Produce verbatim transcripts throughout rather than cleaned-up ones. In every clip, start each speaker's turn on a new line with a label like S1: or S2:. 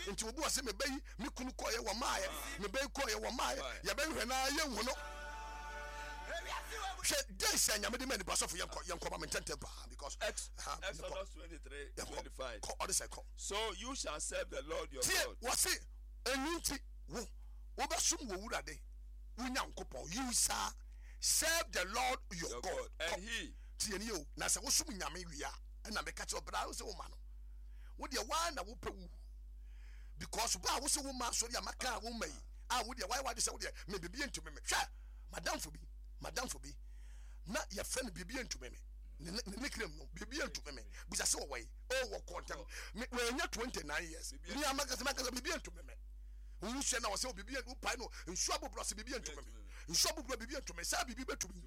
S1: Nti obi wɔ sɛ mebɛyi me kunu kɔɔyɛ wɔ maayɛ, mebɛyi kɔɔyɛ wɔ maayɛ, yɛbɛhwɛ na yɛnhu no. Hwɛ days a Nyame de ma nipa. Sɔfo, yɛnkɔ, yɛnkɔ ma me ntɛntɛm paa because
S2: Ex-
S1: ha, yɛnkɔ.
S2: Exodus twenty-three
S1: Yɛnkɔ.
S2: twenty-five.
S1: Kɔ, ɔde sɛ kɔ.
S2: So you shall serve the Lord your
S1: Tie.
S2: God.
S1: Wɔse ɛnu nti wo wobɛsom wɔ Wurade wo Nyankopɔn. You shall serve the Lord your
S2: Your
S1: God.
S2: God. And
S1: Kɔ.
S2: he
S1: Tie ni o, na sɛ wosom Nyame wie a, ɛna meka kyerɛ ɔbra wo sɛ woma no wo deɛ waa na wopɛ wu because ba a wo sɛ woma asɔre a maka a woma yi a, wo deɛ wayɛ wade sɛ wo deɛ me biribi ntumi me. Hwɛ, madamfo bi madamfo bi na yɛfrɛ no biribi ntumi me. ne ne ne nickname no biribi ntumi me. Bisa sɛ wɔwɔ yi o, wɔkɔ ntɛm me wɔanya twenty nine years. Me amakasa makasa, biribi ntumi me. Nwusua na wɔsɛ biribi wopae no nsuo aboborɔ sɛ biribi ntumi me, nsuo aboborɔ, biribi ntumi saa, biribi bɛtumi.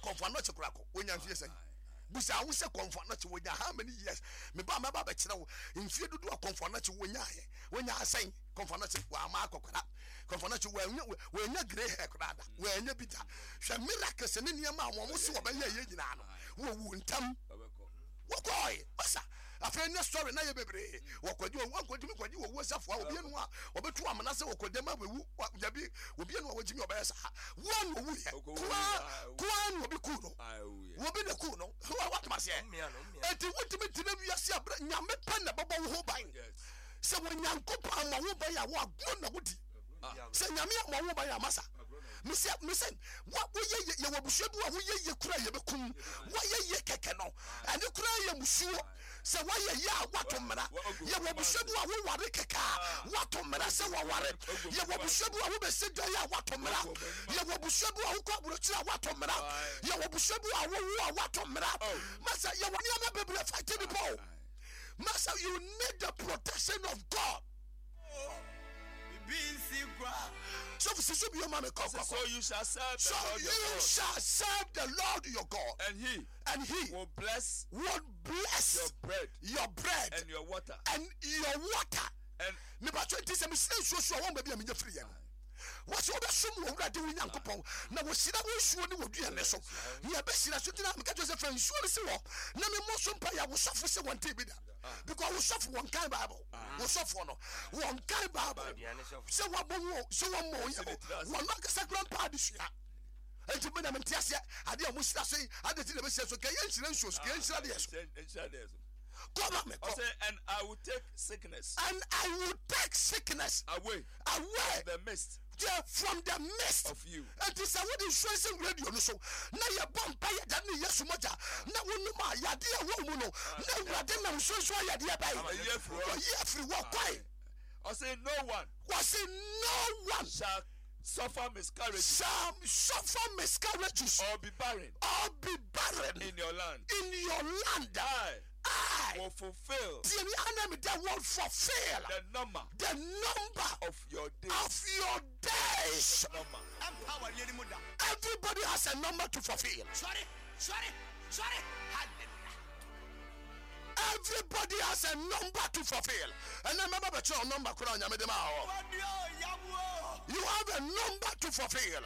S1: Kɔmfo Anɔkye koraa kɔ wonya mfie sɛn? Bisa wo sɛ Kɔmfo Anɔkye wonya how many years? Meba mɛba bɛkyerɛ wo mfie dodo a Kɔmfo Anɔkye wonyaayɛ. Wonya asɛn? Kɔmfo Anɔkye wama akɔkora. Kɔmfo Anɔkye wanya wanya grey hair koraa da, wanya bi da. Hwɛ miracles ne nneɛma a wɔn so wɔbɛyɛ yɛ nyinaa no, wɔwu ntam, wɔkɔɔe masa. Afei ne story na yɛ bebree. Wɔkɔgye owu, wɔnkɔtumi kɔgye owu asafoa. Obi enu a wɔbɛtu amena sɛ wɔkɔgye ma wɔwu dabi. Obi enu a wɔgyimi ɔbɛyɛ saa wɔn na owu yɛ koa koa na obi kuu no, obi na kuu no. Wɔatoma seɛ eti wotumi tena wiase abere Nyame pɛ na bɛbɔ wo ho ban. Sɛ wɔ Nyankopɔn ama wo ban a, wɔagorɔ na wodi. Sɛ Nyame ama wo ban a, masa mesɛ mesɛ wa woyɛ yɛ yɛwɔ abusua bi a woyɛ yɛ kura yɛbɛkum woayɛ yɛ kɛkɛ no, ɛne kura yɛ musuo sɛ woayɛ yɛ a woato mmara. Yɛwɔ abusua bi a woware kɛkɛ a, woato mmara sɛ wɔware. Yɛwɔ abusua bi a wobɛsi dan a, woato mmara. Yɛwɔ abusua bi a wokɔ aburokyire a, woato mmara. Yɛwɔ abusua bi a wowo a, woato mmara. Masa, yɛwɔ nneɛma bebree fight nipa o. Masa, you need the protection of God. So sisu bi o ma me kɔ kɔ.
S2: So you shall serve the
S1: So
S2: Lord your
S1: you
S2: God.
S1: shall serve the Lord your God,
S2: And he
S1: and he
S2: will bless
S1: will bless
S2: your bread
S1: your bread
S2: and your water.
S1: And your water.
S2: And
S1: mebatɔ nti sɛ mesrɛ nsuo so a, wɔn baabi a menya firi yɛ no, wɔsɛ wobɛsom wɔ Wurade wo Nyankopɔn na wɔhyira wo nsuo ne wɔduane so ne ɛbɛhyira so. Ntina meka kyerɛ sɛ fa nsuo no si wɔ na memmɔ so mpa yɛ. Wosɔfo sɛ wɔnte bi da because wosɔfo wɔnkan Bible. Wosɔfoɔ no wɔnkan Bible sɛ wɔabɔ wo sɛ wɔmmɔ wo yɛ wɔno ankasa kora mpa adesua. Enti mi na mi nti aseɛ adeɛ a mo hyira so yi ade ti na bɛ hyira so kɛ yɛn nhyira nsuo so, kɛ yɛn nhyira deɛ so. Kɔ ma me kɔ.
S2: Ɔsɛ, and I will take sickness
S1: And I will take sickness
S2: away
S1: away
S2: the midst
S1: yeah, from the midst
S2: of you.
S1: Enti sɛ wode nsuo si radio no so na yɛbɔ mpa yɛ da ne Yesu mogya na wonom a, yadeɛ a wɔ mu no na Awurade nam nsuo nso ayɛ deɛ bɛyi
S2: Ɔyi afiri hɔ.
S1: Ɔyi afiri hɔ kwae.
S2: Ɔsɛ, no one
S1: Wɔse no one
S2: shall suffer miscarriage
S1: shall suffer miscarriages
S2: or be barren
S1: or be barren
S2: in your land.
S1: In your land.
S2: I
S1: I
S2: will fulfill
S1: tie me, anam that will fulfill
S2: the number
S1: the number
S2: of your days.
S1: Of your days.
S2: Number.
S1: Everybody has a number to fulfill.
S3: Sorry, sorry, sorry. Hallelujah.
S1: Everybody has a number to fulfill. And then remember, but your number, kura Nyame de ma hɔ. You have a number to fulfill.